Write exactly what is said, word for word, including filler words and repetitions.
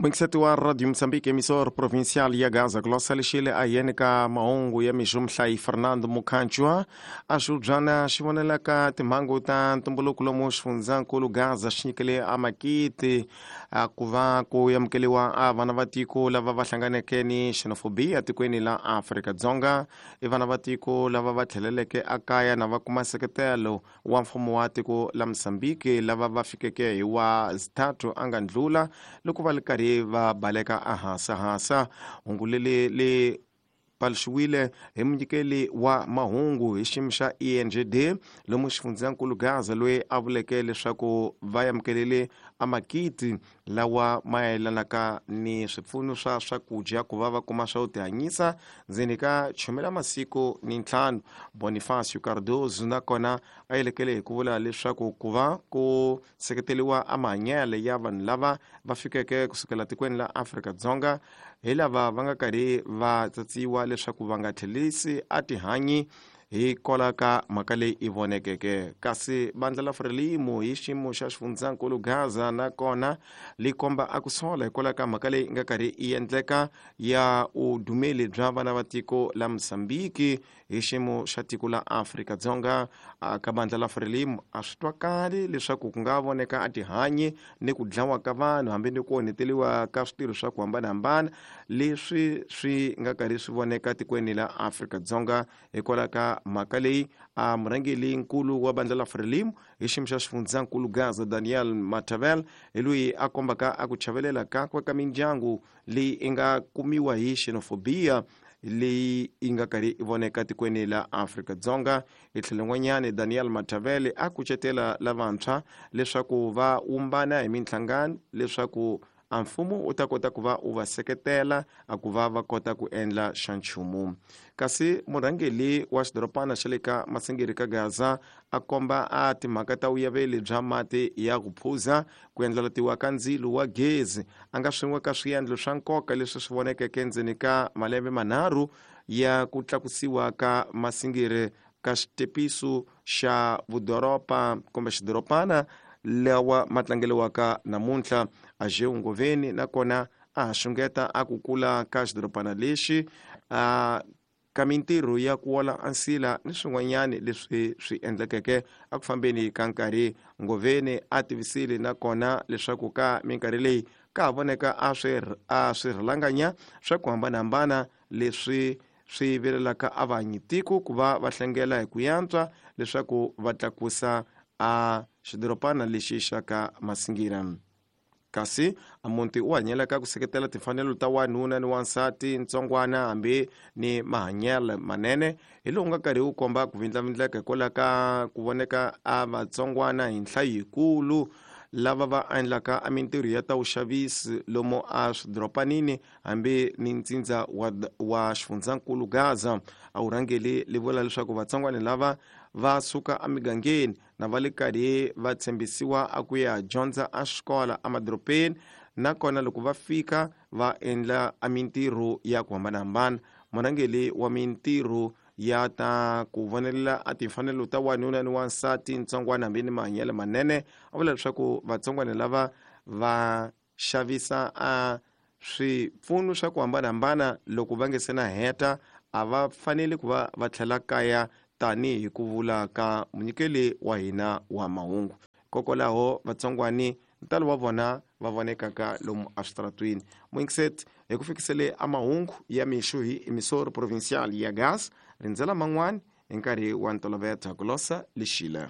Muingiseti wa Radio Mozambique, emissor provincial ya Gaza, Glossa lexile a yeni ka mahungu ya mixo. Muhlayi Fernando Mukhanchwa a xiubyana xi vonelaka timhangu ta ntumbuluko lomu xifundzankulu Gaza xi nyikele a makiti ku va ku amukeliwa a vana va tiko lava va hlanganeke ni xenophobia tikweni la Afrika-Dzonga. I vana va tiko lava va tlheleleke akaya na va kuma nseketelo wa mfumo wa tiko la Mozambique, lava va fikeke hi wa zithathu a nga ndlula loko va li karhi va baleka ahasahasa. Hungu leli li paluxiwile hi munyikeli wa mahungu hi xiyimo xa E N G D lomu xifundzankulu Gaza, loyi a vuleke leswaku va amukelele amakiti lawa ma yelanaka ni swipfuno swa swakudya ku va va kuma swa ku tihanyisa ndzeni ka chumela masiku ni ntlhanu. Bonifacio Cardozo nakona a yelekele hi ku vula leswaku ku va ku seketeriwa amahanyelo ya vanhu lava va fikeke kusukela tikweni la Afrika-Dzonga hi lava va nga karhi va tsatsiwa leswaku va nga tlhelisi a tihanyi hikwalaho ka mhaka leyi i vonekeke. Kasi vandla la Frelimo hi xiyimo xa xifundzankulu Gaza nakona li komba a ku sola hikwalaho ka mhaka leyi nga karhi yi endleka ya vudumeli bya vana va tiko la Mozambique hi xiyimo xa tiko la Afrika-Dzonga. Ka vandla la Frelimo a swi twakali leswaku ku nga voneka a tihanyi ni ku dlawa ka vanhu hambi ni ku onheteliwa ka switirho swa ku hambanahambana leswi swi nga karhi swi voneka tikweni la Afrika-Dzonga hikwalaho ka mhaka leyi a murhangeri nkulu wa vandla la Frelimo hi xiyimo xa xifundzankulu Gaza Daniel Matavel hi loyi a kombaka a ku chavelela kakwe ka mindyangu leyi i nga kumiwa hi xenophobia leyi yi nga karhi yi voneka tikweni la Afrika-Dzonga. Hi tlhelo n'wanyana Daniel Matavele a kucetela lavantshwa leswaku va wumbana hi minhlangano leswaku a mfumo wu ta kota ku va u va seketela a ku va va kota ku endla xa nchumu. Kasi murhangeri wa xidorobana xa le ka Masingiri ka Gaza a komba a timhaka ta vuyaveli bya mati ya ku phuza, ku endlalatiwa ka ndzilo wa gezi a nga swin'we ka swiendlo swa nkoka leswi swi vonekeke endzeni ka malembe manharhu ya ku tlakusiwa ka Masingiri ka xitepiso xa vudoroba kumbe xidorobana lawa ma tlangeliwaka namuntlha. Ajeu Ngoveni nakona a ha xungeta a ku kula ka xidorobana lexi a ka mintirho ya ku wola ansila ni swin'wanyani leswi swi endlekeke a ku fambeni ka nkarhi. Ngoveni a tivisile nakona leswaku ka minkarhi leyi ka ha voneka a swi a swi rhalanganya swa ku hambanahambana leswi swi vilelaka a vanyi tiko ku va va hlengela hi ku yantswa leswaku va tlakusa a xidorobana lexi xa ka Masingira. Kasi a muti u hanyelaka ku seketela timfanelo ta wanuna ni wansati ntsongwana hambi ni mahanyelo manene hi lowu nga karhi wu komba ku vindlavindleka hikwalaho ka ku voneka a vatsongwana hi nhlayo yikulu lava va endlaka a mintirho ya ta vuxavisi lomu a swidorobanini hambi ni ntsindza wa, wa xifundzankulu Gaza. A wu rhangeli li vula leswaku vatsongwana lava va suka emigangeni na va le karhi va tshembisiwa a ku ya dyondza a xikola emadorobeni, nakona loko va fika va endla a mintirho ya ku hambanahambana. Murhangeri wa mintirho ya ta ku vonelela a timfanelo ta wanuna ni wansati ntsongwana hambi ni mahanyelo manene a vula leswaku vatsongwana lava va xavisa a swipfuno swa ku hambanahambana loko va nge se na heta a va fanele ku va va tlhela kaya tanihi ku vula ka munyikeli wa hina wa mahungu. Hikokwalaho vatsongwani ntalo wa vona va vonekaka lomu eswitaratweni. Muingiseti hi ku fikisele a mahungu ya mixo hi emissor provincial ya Gaza, rindzela man'wani hi nkarhi wa ntoloveta. Glossa Lexile.